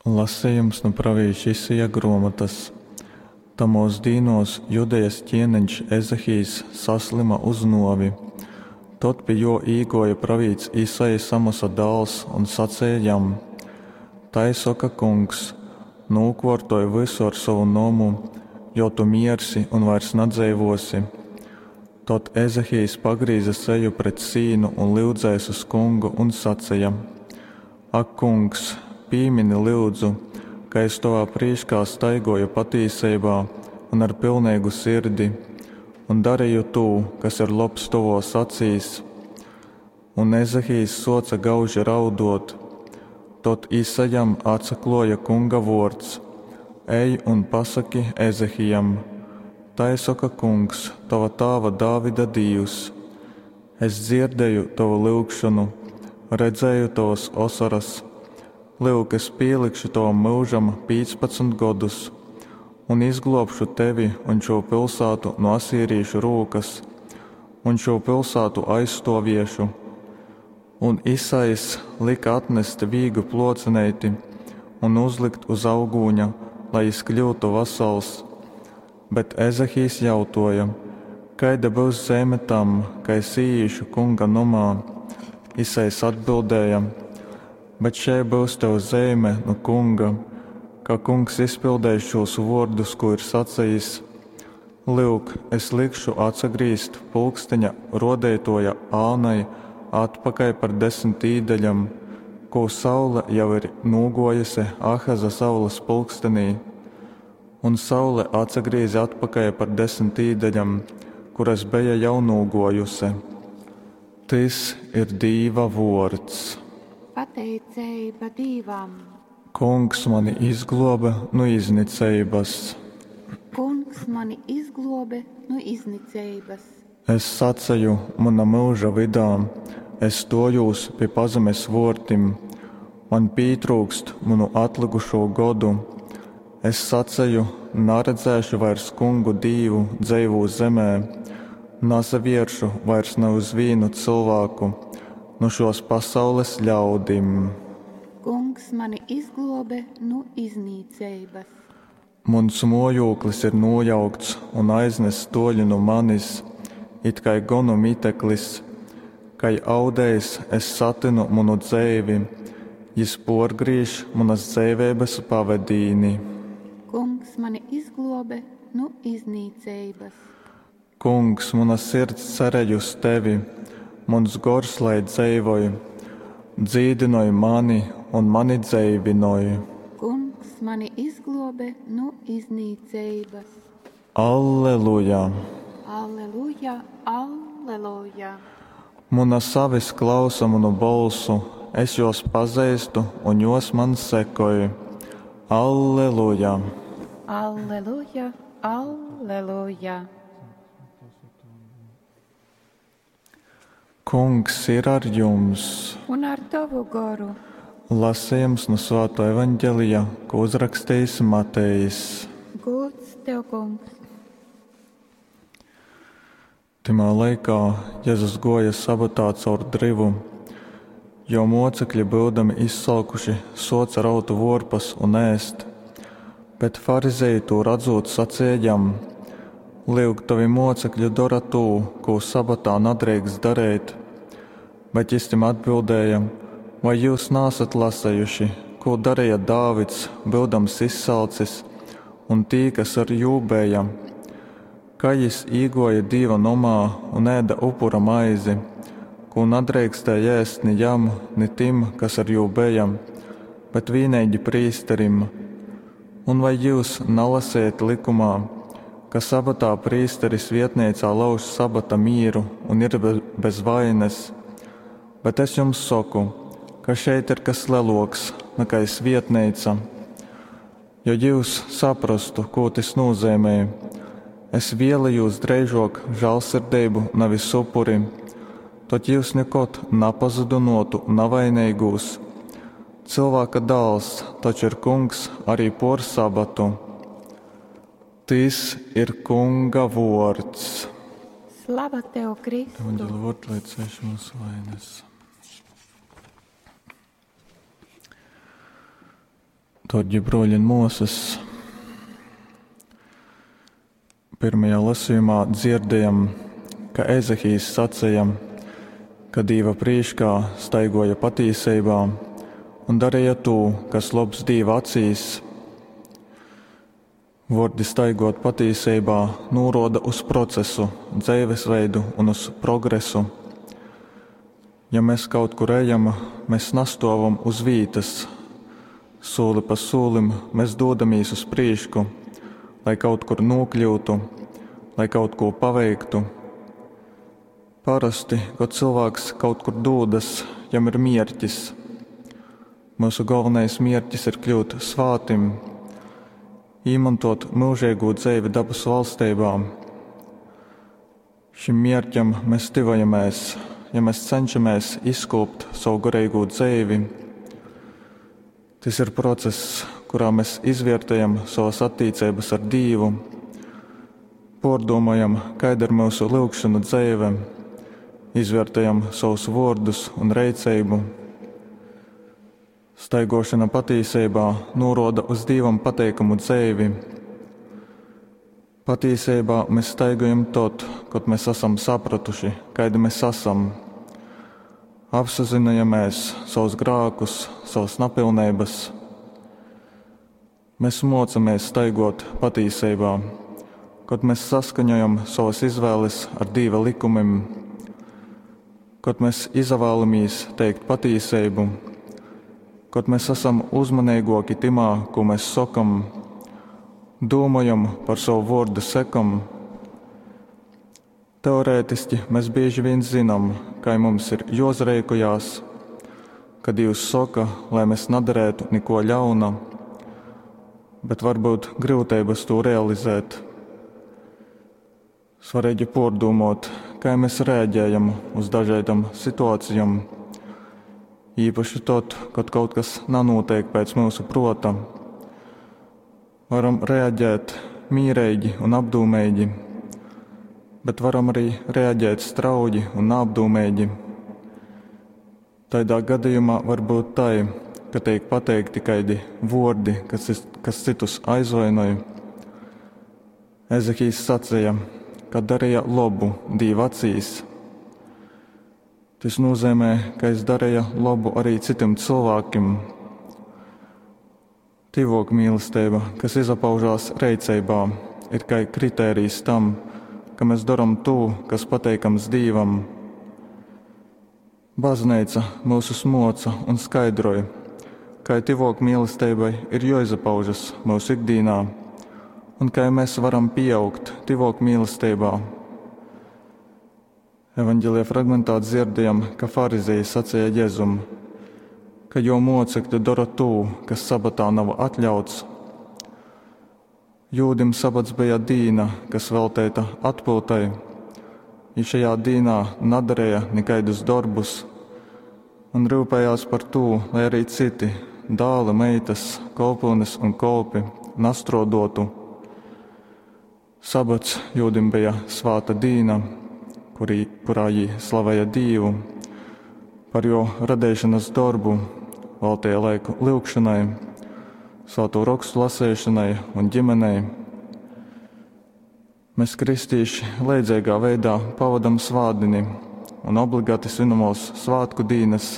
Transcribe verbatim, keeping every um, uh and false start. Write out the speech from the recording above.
Lasejums nu pravīša Isaja gruomotys. Tamuos dīnuos Judejas ķieneņš Ezehijs saslyma uz nuovi. Tod pi juo īguoja pravīts Isajs, Amosa dāls, un saceja jam: Tai soka Kungs: Nūkuortoj vysu ar sovu nomu, jo tu miersi un vairs nadzeivuosi. Tod Ezehijs pagrīze seju pret sīnu un lyudzēs uz Kungu un saceja: Ak, Kungs, pīmini, lyudzu, ka es tovā prīškā staiguoju patīseibā un ar pilneigu sirdi un dareju tū, kas ir lobs tovuos acīs. Un Ezehijs suoce gauži rauduot. Tod Isajam atsakluoja Kunga vuords: Ej un pasaki Ezehijam: Tai soka Kungs, tova tāva Dāvida Dīvs: Es dzierdēju tovu lyugšonu, redzēju tovas osoras. Lyuk, es pīlikšu tovam myužam pīcpadsmit godus un izgluobšu tevi un šū pilsātu no asīrīšu rūkas, un šū pilsātu aizstuoviešu. Un Isajs lika atnest vīgu pluocineiti un uzlikt uz augūņa, lai jis kļūtu vasals. Bet Ezehijs jautuoja: Kaida byus zeime tam, ka es īīšu Kunga nomā? Isajs atbildēja: Bet šei byus tev zeime nu Kunga, ka Kungs izpildeis šūs vuordus, kū ir sacejis: Lyuk, es likšu atsagrīzt pulksteņa ruodeituoja ānai atpakaļ par desmit īdaļom, kū saule jau ir nūguojuse Ahaza saules pulkstenī. Un saule atsagrīze atpakaļ par desmit īdaļom, kuras beja jau nūguojuse. Tys ir Dīva vuords. Pateiceiba Dīvam. Kungs mani izgluobe nu izniceibys. Kungs mani izgluobe nu izniceibys. Es saceju muna myuža vydā, es stuojūs pi pazemes vuortim, maņ pītryukst munu atlykušū godu. Es saceju, naredzēšu vairs Kungu Dīvu dzeivū zemē, nasavieršu vairs ne uz vīnu cylvāku nu šuos pasaules ļaudim. Kungs mani izgluobe nu iznīceibys. Muns muojūklis ir nūjaukts un aiznests tuoļi nu manis, it kai gonu miteklis. Kai audējs es satynu munu dzeivi, jis puorgrīž munas dzeiveibys pavedīni. Kungs mani izgluobe nu iznīceibys. Kungs, muna sirds cerej uz tevi, muns gors lai dzeivoj. Dzīdynoj mani un mani dzeivynoj. Kungs mani izgluobe nu iznīceibys. Alleluja! Alleluja, alleluja! Munas avis klausa munu bolsu, es juos pazeistu un juos man sekoj. Alleluja! Alleluja, alleluja! Kungs ir ar jums! Un ar tovu goru. Lasījums nu Svāto evaņģelija, ko uzrakstījis Matejs. Gods tev, Kungs! Tymā laikā Jezus guoja sabatā caur dryvu, jo mocekļi, byudami izsalkuši, suoce raut vuorpas un ēst. Bet farizeji tū radzūt saceja jam: Lyuk, tovi mocekļi dora tū, kū sabatā nadreikst dareit. Bet jis tim atbildēja: Vai jūs naesat lasejuši, kū dareja Dāvids, byudams izsalcis, un tī, kas ar jū beja? Kai jis īguoja Dīva nomā un ēda upura maizi, kū nadreikstēja ēst ni jam, ni tim, kas ar jū beja, bet vīneigi prīsterim. Un vai jūs nalasējat likumā, ka sabatā prīsteris vietneicā lauž sabata mīru un ir bez vaines? Bet es jums soku, ka šeit ir kas leloks nekā svietneica. Jo jūs saprastu, ko tas nozīmē, es vēlējos dreižok žālsirdību, nevis upuri, tad jūs nekad napazudynotu navainīgūs. Cilvēka dāls taču ir kungs arī por sabatu. Tys ir Kunga vuords. Slava tev, Kristu! Evaņģeļa vārds, lai cēš mūsu vainas. Dārgie bruoļi un muosys, pirmajā lasījumā dzirdējam, ka Ezehijs sacīja, ka Dīva prīškā staigoja patīseibā un darīja tū, kas lobs Dīva acīs. Vordi staigot patīseibā nūroda uz procesu, dzīvesveidu un uz progresu. Ja mēs kaut kur ejam, mēs nastovam uz vītas. Sūli pa sūlim mēs dodamies uz prīšku, lai kaut kur nokļūtu, lai kaut ko paveiktu. Parasti, kad cilvēks kaut kur dodas, jam ir mierķis. Mūsu galvenais mierķis ir kļūt svātim, īmantot mūžīgo dzīvi dabas valstībā. Šim mierķam mēs tuvojamies, ja mēs cenšamies izkopt savu garīgo dzīvi. Tas ir process, kurā mēs izvērtējam savas attiecības ar Dievu, pārdomājam, kāda ir mūsu lūgšanu dzīve, izvērtējam savus vārdus un reicību. Staigošana patīsībā noroda uz Dievam pateikamu dzīvi. Patīsībā mēs staigojam tad, kad mēs esam sapratuši, kādi mēs esam. Apsazinājamies savus grēkus, savas napilnības. Mēs mocamies staigot patīsībā, kad mēs saskaņojam savas izvēles ar Dieva likumiem, kad mēs izvēlamies teikt patīsību, kad mēs esam uzmanīgāki timā, ko mēs sakam, domājam par savu vārdu sekam. Teorētiski mēs bieži vien zinām, kā mums ir jāzreikojās, kad Dievs saka, lai mēs nedarētu neko ļauna, bet varbūt grūtības to realizēt. Svarīgi pārdomāt, kā mēs rēģējam uz dažādām situācijām, īpaši tad, kad kaut kas nenotiek pēc mūsu prota. Varam reaģēt mīrīgi un apdūmīgi, bet varam arī reaģēt strauji un neapdūmīgi. Tādā gadījumā var būt tai, ka tiek pateikti kaidi vordi, kas, kas citus aizvainoja. Ezehijs sacīja, ka darīja labu Dieva acīs. Tas nozīmē, ka es darīju labu arī citiem cilvēkiem. Tivok mīlestība, kas izpaužās reicībā, ir kā kritērijs tam, ka mēs darām to, kas pateikams Dievam. Baznīca mūsus moca un skaidroja, kā tivok mīlestībai ir jāizpaužas mūsu ikdienā un kā mēs varam pieaugt tivok mīlestībā. Evanģelija fragmentā dzirdējam, ka farizēji sacīja Jēzum, ka jo mocekļi dara to, kas sabatā nav atļauts. Jūdim sabats bija dīna, kas veltīta atpūtai. Ja šajā dīnā nedarīja nekaidus darbus un rūpējās par to, lai arī citi dāli, meitas, kolpones un kolpi nastrodotu. Sabats jūdim bija svāta dīna, kurī, kurā jī slavēja Dievu par jo radīšanas darbu, veltīja laiku lūgšanai, svēto rakstu lasīšanai un ģimenei. Mēs, kristīši, leidzīgā veidā pavadam svātdini un obligāti svinamos svētku dīnas.